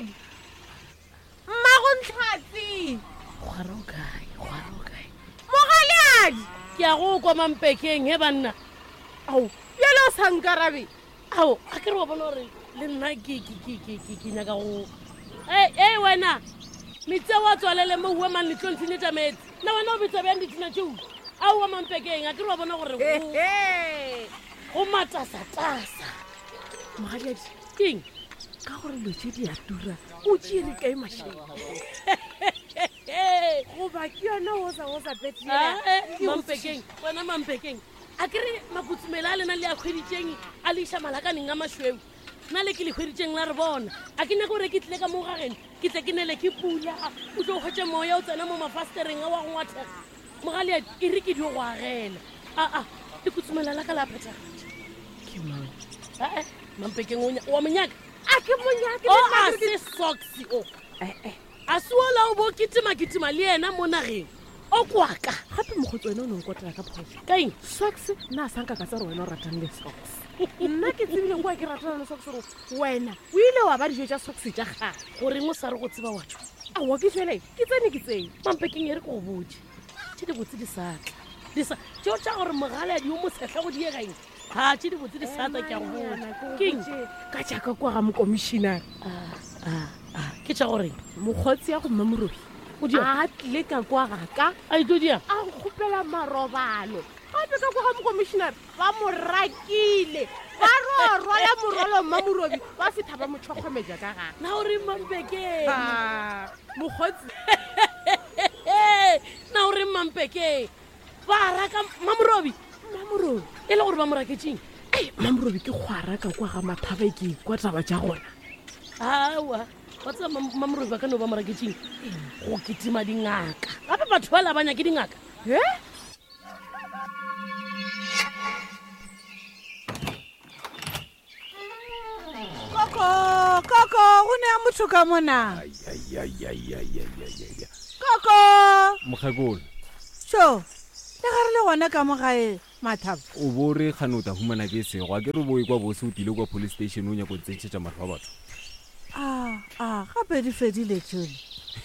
Mogaleadi mmago ntlhatsi Kgwara o kae kgwara o kae mogaleadi ke a go kwa mampekeng he banna ao bjale o sa nkarabe ao a ke re wa bona gore le nna ke nyaka go ee wena metsi a wa tswalele mo ua mang letlo ntshenyetša meetse na wena o betsa bjang ditina tšeo a oa mampekeng a ke re wa bona gore go matasatasa mogadiadi keng ka gore dilo tše di a tura o tšeere kae mašeng goba ke yona osa osa mampekeng wena mampekeng a ke re makutsumela a lena le a kgweditšeng a le iša malakaneng a mašweu nna le ke le hweditšeng la re bona a ke nyake gore ke tlile ka mo gageno ke tle ke nele ke pula o tlo hwetše moya o tsena mo mafastereng a wa go ngwathega mogaleadi e re ke dio go agela aa lekutsumela la ka la phethagatša ke mang ee mampekeng wa monyaka a ke monyake o a se socks o ee a se ola o bo kitima-kitima le yena mo nageng o kwaka gape mokgotsi wena o ne nkotela ka phoso ka eng socks nna a sanka ka tsa gore wena o ratang le socks nna ke tsebile kwa ke ratana le socks gore wena o ile wa ba dijo tša socks tša gage goreng o sa re go tseba wa tšwa aowa ke tswele ke tsene ke tsene mampekeng e re ke go botse tše dibotse di sa tla di sa tšeo tša gore mogaladi yo mosehla go diegaeng ga tše dibotse di sa tla ke a go botsa keng ka jaaka kwa ga mokomišinare ah, ah, ah, ke tša goreng mokgotsi ya go mmamorobi O dia? a tlile ka kwa gaka a itlo dia a nkgopela marobalo gape ka kwa ga mokomišinare ba mo rakile ba ro rwala morwalo mmamorobi ba fetha ba mo tšhokgometša ka gare na o reng mampekeng Ah, mokgotsi na o reng mampekeng ba raka mamorobi mmamorobi e le gore ba mo raketseng ei mmamorobi ke kgwara ka kwa ga mathaba ke kwa taba tša gona awa wa tseba mamorobi ba ka no ba mo raketseng go kitima dingaka gape batho ba la ba nyake dingaka e koko koko go ne ya motho ka mona koko mokgekolo so le ga re le gona ka mo gae mathabo o bo re kgane o tla humana ke sego a ke re bo e kwa bose o tlile kwa police station o nyako tsentšhetša mahlo a batho a a gape di fedile tšole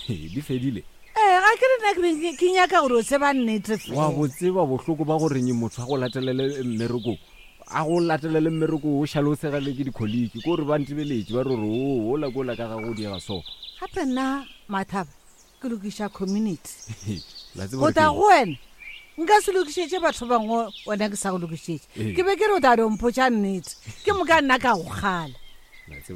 di fedile ee ga ke re nna ke be ke nyaka gore o tseba nnete wa fela bo tseba bohloko ba goreng motho a go latelele mmerekong a go latelele mmereko o šale o segele ke dikholiki ko gore ba ntebeletše ba re gore o ola ko ola ka ga go diega so gape nna mathaba ke lokiša community La tseba go gore tla ke eng? go wena nka se lokišetše batho bangwe wena ke sa go lokišetše Ee. ke be ke re o tla dompotša nnete ke moka nna ka go kgala La tseba.